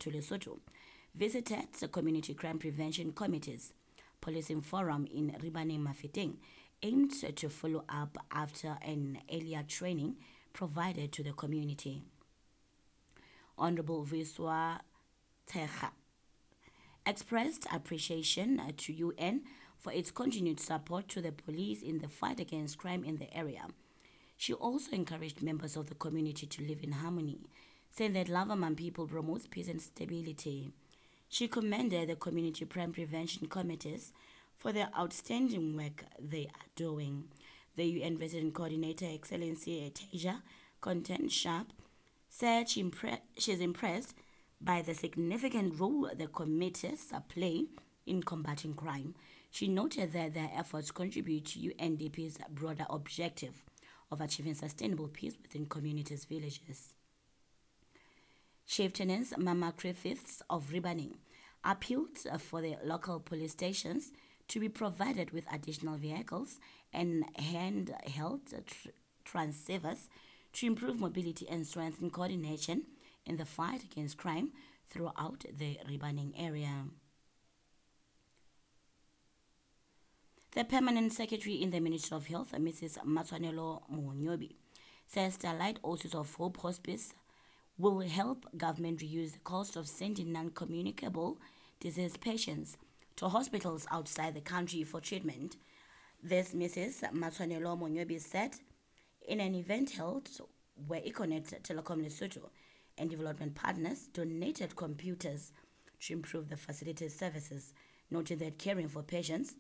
to Lesotho, visited the Community Crime Prevention Committees Policing Forum in Ribaneng Mafeteng, aimed to follow up after an earlier training provided to the community. Honorable Vuyiswa Tshekga expressed appreciation to UN for its continued support to the police in the fight against crime in the area. She also encouraged members of the community to live in harmony, saying that love among people promotes peace and stability. She commended the community crime prevention committees for their outstanding work they are doing. The UN Resident Coordinator, Excellency Tasia Content Sharp, said she's impressed by the significant role the committees play in combating crime. She noted that their efforts contribute to UNDP's broader objective of achieving sustainable peace within communities' villages. Chieftainess Mama Griffiths of Ribaneng appealed for the local police stations to be provided with additional vehicles and handheld transceivers to improve mobility and strengthen coordination in the fight against crime throughout the Ribaneng area. The Permanent Secretary in the Ministry of Health, Mrs. Matshwanelo Monyonyobi, says Starlight Oasis of Hope Hospice will help government reduce the cost of sending non-communicable disease patients to hospitals outside the country for treatment. This Mrs. Matshwanelo Monyonyobi said in an event held where Econet Telecom Lesotho and development partners donated computers to improve the facility's services, noting that caring for patients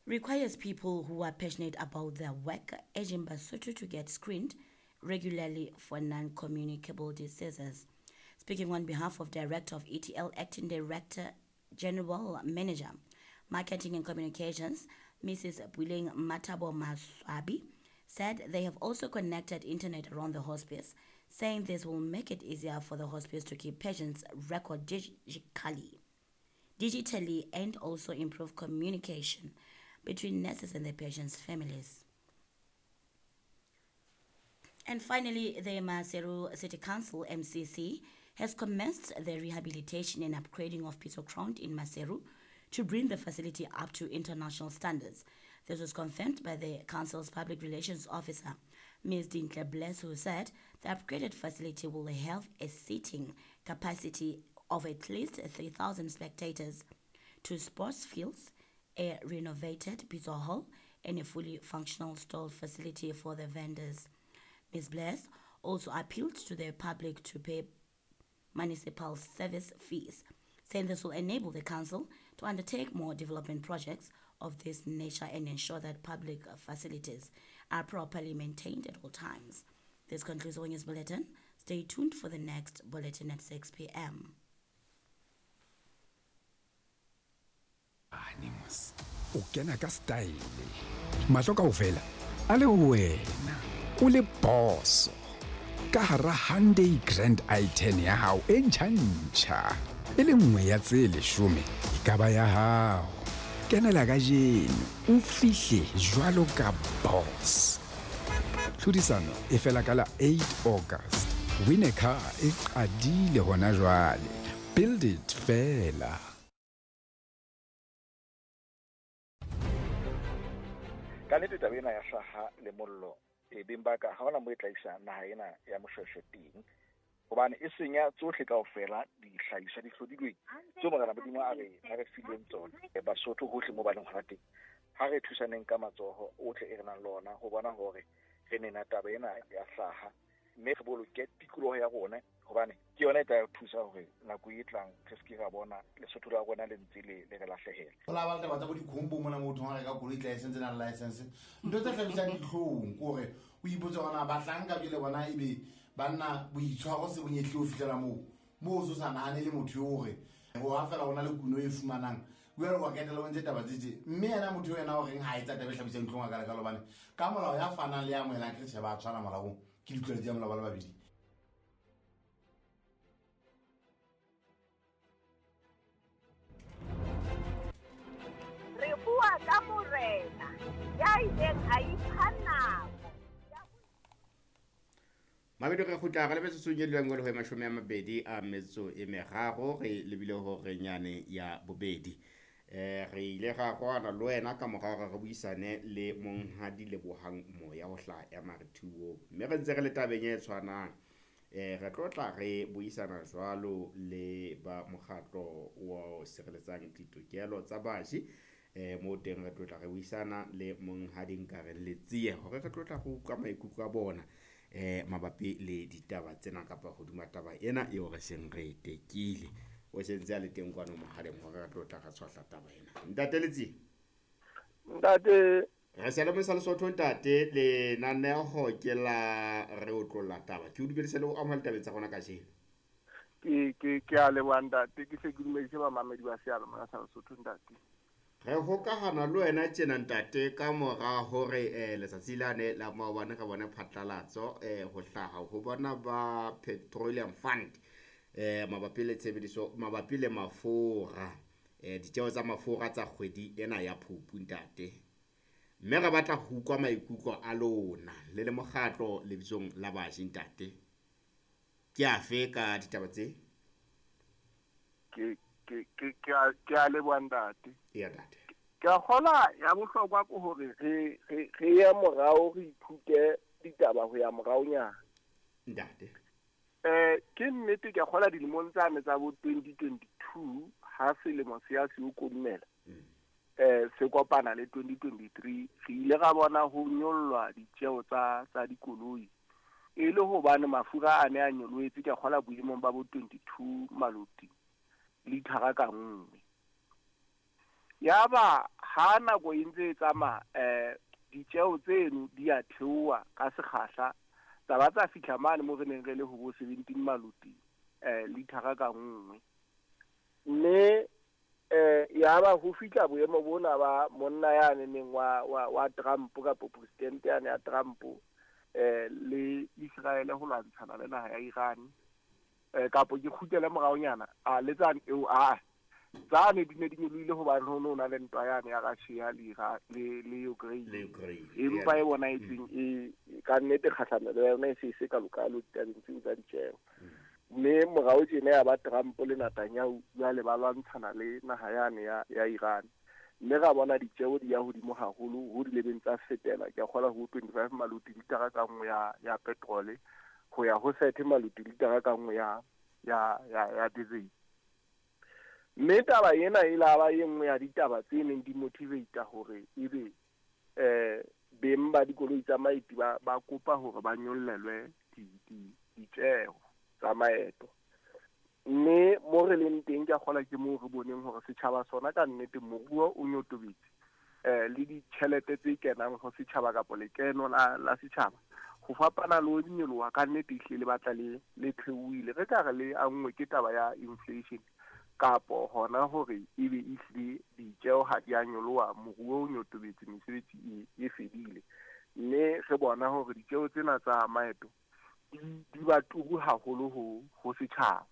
requires people who are passionate about their work, urging Basotho to get screened regularly for non-communicable diseases. Speaking on behalf of Director of ETL, Acting Director General Manager, Marketing and Communications, Mrs. Puleng Matabo Maswabi, said they have also connected internet around the hospice, saying this will make it easier for the hospice to keep patients' record digitally and also improve communication between nurses and the patients' families. And finally, the Maseru City Council, MCC, has commenced the rehabilitation and upgrading of Pitso Ground in Maseru to bring the facility up to international standards. This was confirmed by the council's public relations officer, Ms. Dintle Bless, who said the upgraded facility will have a seating capacity of at least 3,000 spectators, 2 sports fields, a renovated Pitso Hall, and a fully functional stall facility for the vendors. Ms. Bless also appealed to the public to pay municipal service fees, saying this will enable the council to undertake more development projects of this nature and ensure that public facilities are properly maintained at all times. This concludes our news bulletin. Stay tuned for the next bulletin at 6 p.m. Animus o kena ka style, mahlo kaofela a le ho wena, o le boso ka hara Hyundai Grand i10 ya hao e ntjha-ntjha. E le nngwe ya tse 10 e ka ba ya hao. Kenela kajeno, o fihle jwalo ka boss. Tlhodisano e fela ka la 8 August. Win a car e qadile hona jwale. Build it fela. Ka nnete, taba ena ya hlaha le mollo e beng ba ka ha hona mo e tla isa naha ena ya Moshweshwe teng, hobane e senya tsohle kaofela dihlahiswa di hlodilweng tseo Morena Modimo a re fileng tsona. Basotho hohle mo ba leng hona teng, ha re thusaneng ka matsoho ohle e re nang le ona ho bona hore re nena taba ena ya hlaha, mme re boloke tikoloho ya rona, hobane ke yona e tla re thusa hore nako e tlang re se ke ra bona Lesotho la rona le ntse le re lahlehela. Go la ba taba tsa bo dikhombo mona, motho ga reka koloi tla e sentse nang license. Ntho tse tlhabisang ditlhong ke gore o ipotse gona bahlanka bjele bona ebe banna boitshwaro se bonyetlile ho fitlhela moo o se o sa nagane le motho yo gore go ga fela go na le kuno e fumanang jale wa ketela o ntse taba tsetse, mme ena motho yo ena o reng ga e tsa taba e tlhabisang ditlhong a kalekalo, bane ka molao ya fanang le ya amogelang ke tšheba a tshwana molaong, ke ditlwaelo tsa molao ba le babedi. Re bua ka morena ya ileng a ipha nako. Mabedi re kgutla re le metsotsong e dulang le ho 23 re lebile hore nyane ya bobedi. Re ile ra kwana le wena ka mora hore re buisane le monghadi Lebohang Moya ho hlaha ya Marethuo, mme re ntse re le tabeng e tshwanang. Re tlo tla re buisana jwalo le ba mokgatlo wa sireletsang ditokelo tsa baji. Mo teng re tlo tla re buisana le monghadi Nkareng Letsie hore re tlo tla go utlwa maikutlo a bona mabapi le ditaba tsena kapa hodima taba ena eo re seng re tekile. O sentse a le teng kwano mohaleng hore re tlo tla re tshwahla taba ena. Ntate Letsie. Ntate. Re se le mosa Lesotho ntate, lenaneho ke la re otlolla taba. Ke o dumedise le ho amohela tabeng tsa rona kajeno. Ke a leboha ntate, ke hle ke dumedise bamamedi ba seyalemoya sa Lesotho ntate. Re hokahana le wena tjena ntate ka mora hore letsatsi lane la maobane re bone phatlalatso ho hlaha ho bona ba Petroleum Fund mabapi le tshebediso, mabapi le mafura, ditjeho tsa mafura tsa kgwedi ena ya Phupu ntate. Mme re batla ho utlwa maikutlo a lona le le mokgatlo lebitsong la baji ntate. Ke afe ka ditaba tse? Ke a leboha ntate. Eya ntate. Ke a kgola ya bohlokwa ke hore re ye morao re ithute ditaba ho ya moraonyana. Ntate. Ke nnete ke a kgola dilemong tsane tsa bo 2022 ha selemo se ya se o kodumela. Se kopana le 2023 re ile ra bona ho nyollwa ditjeo tsa dikoloi e le hobane mafura a ne a nyolohetse, ke a kgola boemong ba bo 22 maloti lithara ka nngwe. Yaba ha nako e ntse e tsamaya ditjeo tseno di a theoha ka sekgahla, tsa ba tsa fihla mane mo re neng re le ho bo 17 maloti lithara ka nngwe. Mme yaba ho fihla boemo bona ba monna yane neng wa Trump kapa president yane ya Trump le Israel ho lwantshana le naha ya Iran, kapo ke kgutlele moraonyana a le tsane eo a tsane di ne di nyolohile hobane ho no na le ntwa yane ya Russia le Ukraine, empa e bona e tseng e ka nnete kgahlamelo ya yona e se se kalokalo ditabeng tseo tsa ditjeo. Mme morao tjena ya ba Trump le Netanyahu jwale ba lwantshana le naha yane ya Iran, mme ra bona ditjeo di ya hodimo haholo ho dilebeng tsa fetela, ke a kgola ho 25 maloti litara ka nngwe ya petrole ho ya ho 30 maloti litara ka nngwe ya diesel. Mme taba ena e la ba e nngwe ya ditaba tse neng di motivate hore ebe beng ba dikoloi tsa maeti ba kopa hore ba nyollelwe ditjeo tsa maeto. Mme mo re leng teng ke a kgola ke moo re boneng hore setjhaba sona ka nnete moruo o nyotobetse, le ditjhelete tse kenang ho setjhaba kapa lekeno la setjhaba ho fapana le ho nyoloha ka nnete ehlile le batla le theohile. Re ka re le anngwe ke taba ya inflation kapo hona hore ebe ehlile ditjeo ha di a nyoloha, moruo o nyotobetse, mesebetsi e fedile. Mme re bona hore ditjeo tsena tsa maeto di ba turu haholo ho setjhaba.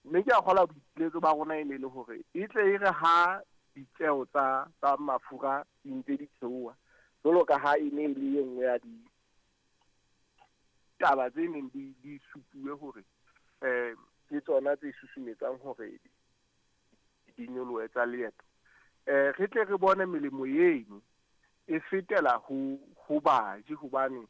Mme ke a kgola boipiletso ba rona e ne le hore e tle e re ha ditjeo tsa mafura di ntse di theoha, jwalo ka ha e ne e le e nngwe ya ditaba tse neng di supuwe hore ke tsona tse susumetsang hore di nyolohe tsa leeto, re tle re bone melemo eno e fetela ho baji, hobane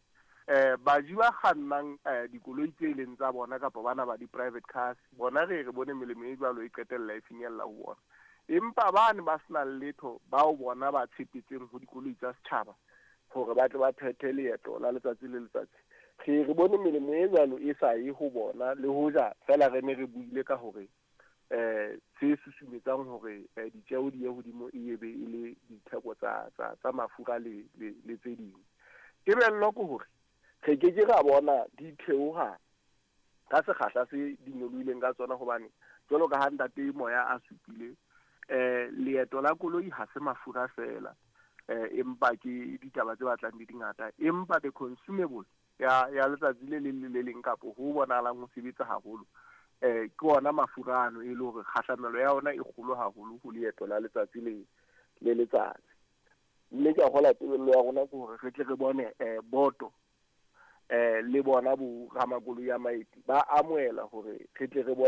baji ba kgannang dikoloi tse leng tsa bona kapa bana ba di-private cars bona re bone melemo e jwalo e qetella e finyella ho bona. Empa bane ba senang letho bao bona ba tshepetseng ho dikoloi tsa setjhaba hore ba tle ba phethe leeto la letsatsi le letsatsi, re bone melemo e jwalo e sa ye ho bona, le hoja fela re ne re buile ka hore se susumetsang hore ditjeo di ye hodimo e be e le ditheko tsa mafura le tse ding. Tebello ke hore re ke ke ra bona di theoha ka sekgahla se di nyolohileng ka tsona, hobane jwalo ka ha ntate Moya a supile, leeto la koloi ha se mafura fela, empa ke ditaba tse batlang di dingata, empa the consumable ya letsatsi le leng le le leng kapo ho bonahalang ho sebetsa haholo ke ona mafura ano e le hore kgahlamelo ya ona e kgolo haholo ho leeto la letsatsi le letsatsi. Mme ke a kgola tebello ya rona ke hore re tle re bone boto Le bona bo ramakoloi a maeti ba amohela hore re tle re bone.